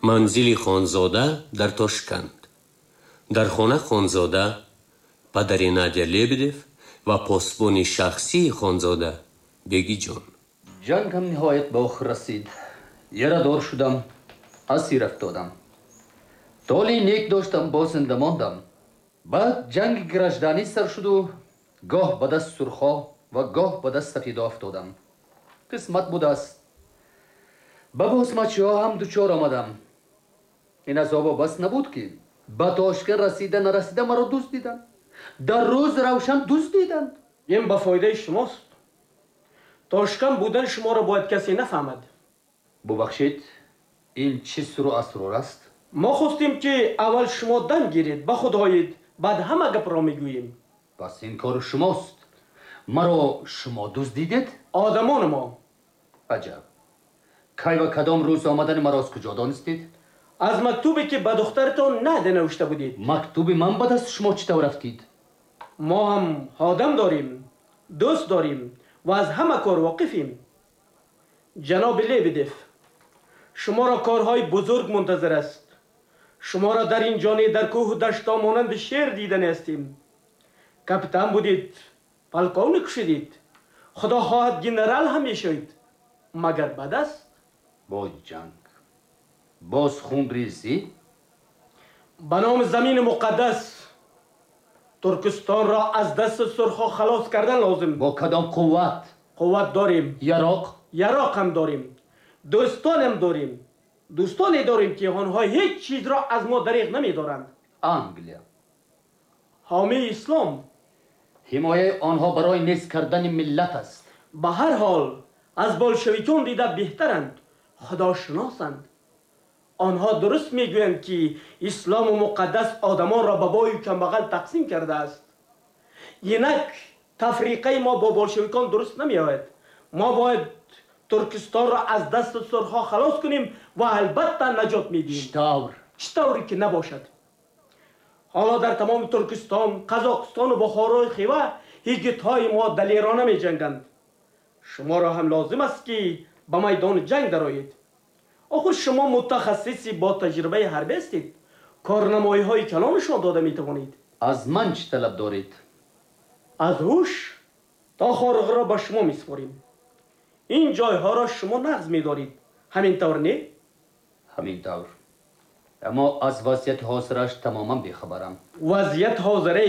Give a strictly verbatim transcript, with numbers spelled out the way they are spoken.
Манзили Хонзода дар Тошканд. Дар хона Хонзода, падари Надя Лебедев ва посбони шахсии Хонзода Бегиҷон. Ҷанг ҳам ниҳоят ба охир расид. Ярадор шудам, асир афтодам. Толеи нек доштам, боз зинда мондам. Баъд ҷанги гражданӣ сар шуду гоҳ ба даст сурхо ва гоҳ ба даст сафедо афтодам. Қисмат будааст. Ба босмачиҳо ҳам дучор омадам. Ин азобо бас набуд, ки ба Тошканд расида нарасида маро дуздиданд. Дар рӯз равшан дуздиданд. Ин ба фоидаи шумост. Тошканд будани шуморо бояд касе нафаҳмад. Бубахшед, ин чӣ сирру асрор аст? Мо хостем, ки аввал шумо дам гиред, ба худ оед, баъд ҳама гапро мегӯем. Пас ин кори шумост. Маро шумо дуздидед? Одамони мо. Аҷаб! Кай ва кадом рӯз омадани маро аз куҷо донистед? Аз мактубе, ки ба духтаратон Надя навишта будед. Мактуби ман ба дасти шумо чӣ тавр афтид? Мо ҳам одам дорем, дӯст дорем ва аз ҳама кор воқифем. Ҷаноби Лебедев, шуморо корҳои бузург мунтазир аст. Шуморо дар ин ҷо не, дар кӯҳу дашто монанди шер дидани ҳастем. Капитан будед, полковник шудед, худо хоҳад, генерал ҳам мешавед. Магар бад аст? Боз ҷанг, боз хунрезӣ. Ба номи замини муқаддас Туркистонро аз дасти сурхо халос кардан лозим. Бо кадом қувват? Қувват дорем. Яроқ? Яроқ ҳам дорем, дӯстонам дорем, дӯстоне дорем, ки онҳо ҳеҷ чизро аз мо дареғ намедоранд. Англия? Ҳомии ислом. Ҳимояи онҳо барои нест кардани миллат аст. Ба ҳар ҳол аз болшевикон дида беҳтаранд, худошиносанд. Онҳо дуруст мегӯянд, ки ислому муқаддас одамонро ба бою камбағал тақсим кардааст. Инак тафриқаи мо бо болшевикон дуруст намеояд. Мо бояд Туркистонро аз дасти сурхҳо халос кунем ва албатта наҷот медиҳем. Чӣ тавр? Чӣ тавре ки набошад. Ҳоло дар тамоми Туркистон, Қазоқистону Бухорои Хива ҳигитҳои мо далерона меҷанганд. Шуморо ҳам лозим аст, ки ба майдони ҷанг дароед. Охир шумо мутахассиси бо таҷрибаи ҳарбӣ ҳастед, корнамоиҳои калон нишон дода метавонед. Аз ман чӣ талаб доред? Аз ҳуш то Хоруғро ба шумо месупорем. Ин ҷойҳоро шумо нағз медоред, ҳамин тавр не? Ҳамин тавр, аммо аз вазъияти ҳозираш тамоман бехабарам. Вазъият ҳозираи